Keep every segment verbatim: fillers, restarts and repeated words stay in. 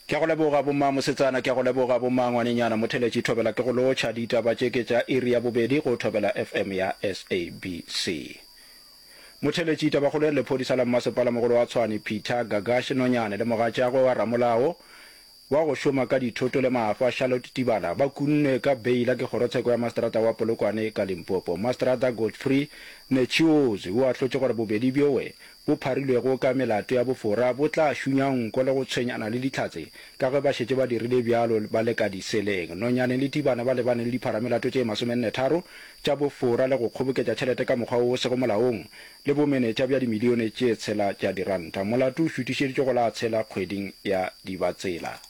Ke a go leboga bomma mosetsana, ke a go leboga bomma ngwanenyana. Motheletši Thobela ke go lotšha. Ditaba tše ke tša iri ya bobedi go Thobela F M ya S A B C. Motheletši, tabakgolo e re lephodisa la mmasepala mogolo wa Tshwane Peter Gagash Nonyane le mogatšagwe wa ramolao wa go šoma ka dithoto le maafa Charlotte Tibana ba kunnwe ka beila ke kgorotsheko ya maseterata wa Polokwane ka Limpopo. Maseterata Godfrey Netshiozwi o ahlotše gore bobedi bjowe bo pharilwego ka melato ya bofora bo tla šunya nko le go tshwenyana le dihlatse ka ge ba šetše ba dirile bjalo ba le ka diseleng. Nonyane le Tibana ba lebane le dipharamelato tše masomenne-tharo tša bofora le go kgoboketša tšhelete ka mokgwa wo o sego molaong le bomenetša bja dimilione tše tshela tša diranta. Molato o šutišeditšwe go la tshela kgweding ya Dibatsela.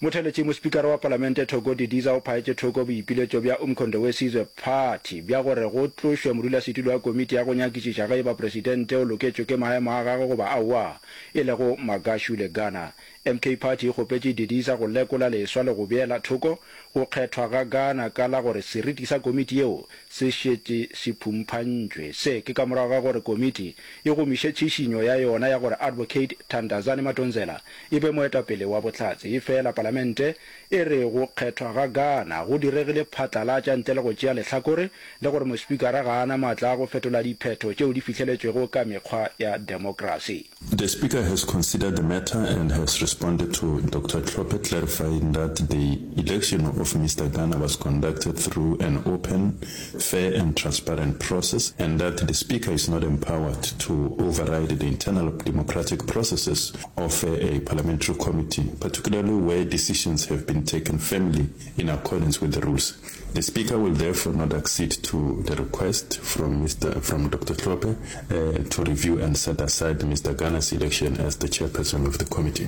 Motheeletši, Mospikara wa Palamente Thoko Didiza o phaetše thoko boipiletšo bja Umkhonto we Sizwe Party bja gore go tlošwe modulasetulo wa komiti ya go nyakišiša ge e ba presidente o loketšwe ke maemo a gagwe goba aowa, e lego Magashule Gana. M K Party e kgopetše Didiza go lekola leswa le go beela thoko go kgethwa ga Gana ka la gore seriti sa komiti yeo se šetše se phumphantšwe. Se ke ka morago ga gore komiti e gomiše tšhišinyo ya yona ya gore Advocate Thandazani Madonsela e be moetapele wa bohlatse. Efela palamente e re go kgethwa ga Gana go diregile phatlalatša ntle le go tšea lehlakore le gore mospikara ga a na maatla a go fetola diphetho tšeo di fihleletšwego ka mekgwa ya demokrasi. The Speaker has considered the matter and has responded to Doctor Hlophe, clarifying that the election of Mister Gana was conducted through an open, fair and transparent process and that the Speaker is not empowered to override the internal democratic processes of a parliamentary committee, particularly where decisions have been taken firmly in accordance with the rules. The Speaker will therefore not accede to the request from Mister from Doctor Hlophe uh, to review and set aside Mister Gana's election as the chairperson of the committee.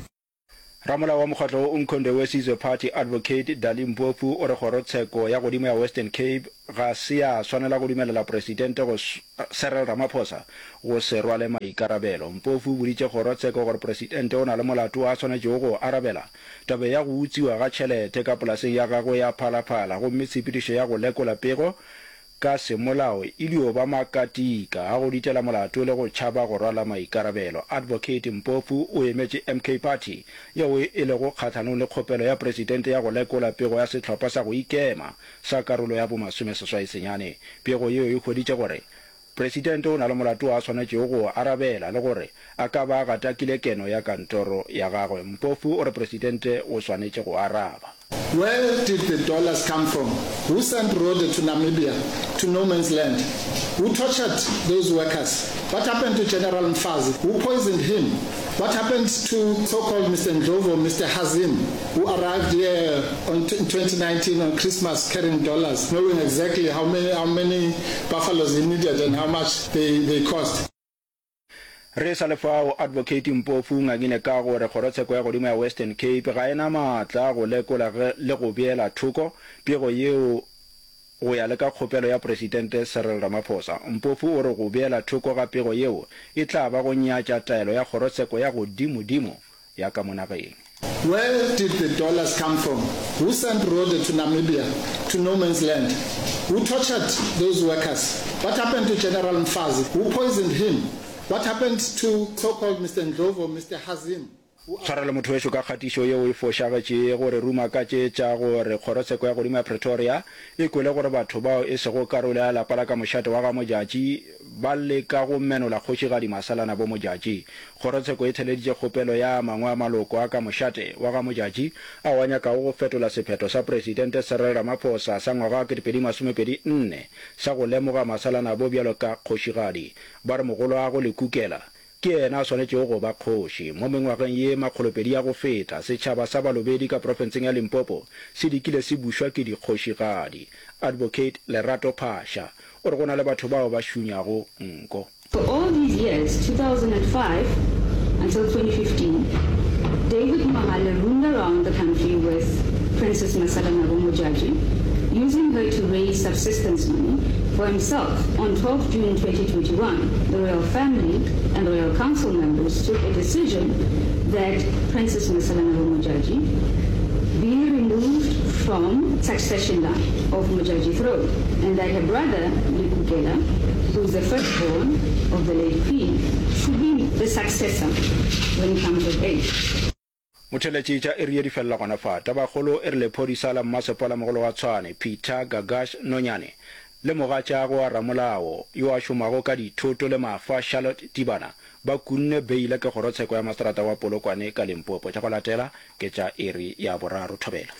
Ramolao wa mokgatlo wo Umkhonto we Sizwe Party Advocate Dali Mpofu o re kgorotsheko ya godimo ya Western Cape ga se ya swanela go dumelela Presidente go Cyril Ramaphosa go se rwale maikarabelo. Mpofu o boditše kgorotsheko gore Presidente o na le molato wo a swanetšego go o arabela tabeng ya go utswiwa ga tšhelete ka polaseng ya gagwe ya Phalaphala gomme tshepedišo ya go lekola pego ka semolao e dio ba makatika a go ditela molato le go tšhaba go rwala maikarabelo. Advocate Mpofu o emetše M K Party yeo e lego kgahlanong le kgopelo ya Presidente ya go lekola pego ya sehlopha sa go ikema sa karolo ya bomasomeseswai senyane. Pego yeo e hweditše gore Presidente o na le molato wo a swanetšego go o arabela le gore a ka ba a gatakile keno ya kantoro ya gagwe. Mpofu o re Presidente o swanetše go araba. Where did the dollars come from? Who sent Rode to Namibia, to no man's land? Who tortured those workers? What happened to General Mfazi? Who poisoned him? What happened to so-called Mister Ndlovu, Mister Hazim, who arrived here on in twenty nineteen on Christmas carrying dollars, knowing exactly how many, how many buffaloes he needed and how much they, they cost? Re sa le fao, Advocate Mpofu o ngangile ka gore kgorotsheko ya godimo ya Western Cape ga e na maatla a go lekola le go beela thoko pego yeo go ya le ka kgopelo ya Presidente Cyril Ramaphosa. Mpofu o re go beela thoko ga pego yeo e tla ba go nyatša taelo ya kgorotsheko ya godimodimo ya ka mo nageng. Where did the dollars come from? Who sent Rode to Namibia, to no man's land? Who tortured those workers? What happened to General Mfazi? Who poisoned him? What happened to so-called Mister Ndlovu, Mister Hazim, who Tshwarelo motho wešo ka kgatišo yeo e fošagetšego. Re ruma ka tše tša gore kgorotsheko ya godimo ya Pretoria e kwele gore batho bao e sego karolo ya lapa la ka mošate wa ga Modjadji ba leka go menola kgošigadi Masalanabo Modjadji. Kgorotsheko e theleditše kgopelo ya a mangwe a maloko a ka mošate wa ga Modjadji ao a nyakago go fetola sephetho sa Presidente Cyril Ramaphosa sa ngwaga wa ketepedi masomepedi nne sa go lemoga Masalanabo bjalo ka kgošigadi. Ba re mogoloagwe Lekukela ke yena a swanetšego go ba kgoši. Mo mengwageng ye makgolopedi ya go feta, setšhaba sa Balobedu ka profenseng ya Limpopo se dikile se bušwa ke dikgošigadi. Advocate Lerato Phasha o re go na le batho bao ba šunyago nko. For all these years, two thousand and five until twenty fifteen, David Mohale roomed around the country with Princess Masalanabo Modjadji, using her to raise subsistence money for himself. On twelve June twenty twenty-one, the royal family and royal council members took a decision that Princess Masalanabo Modjadji be removed from succession line of Modjadji throne and that her brother, Lekukela, who is the firstborn of the late queen, should be the successor when he comes of age. Motheeletši tša iri ye di felela gona fa. Tabakgolo e re lephodisa la mmasepala mogolo wa Tshwane, Peter Gagash Nonyane, le mogatšagwe wa ramolao yo a šomago ka dithoto le mafa Charlotte Tibana ba kunne beile ke kgorotsheko ya maseterata wa Polokwane ka Limpopo. Tša go latela ke tša iri ya boraro. Thobela.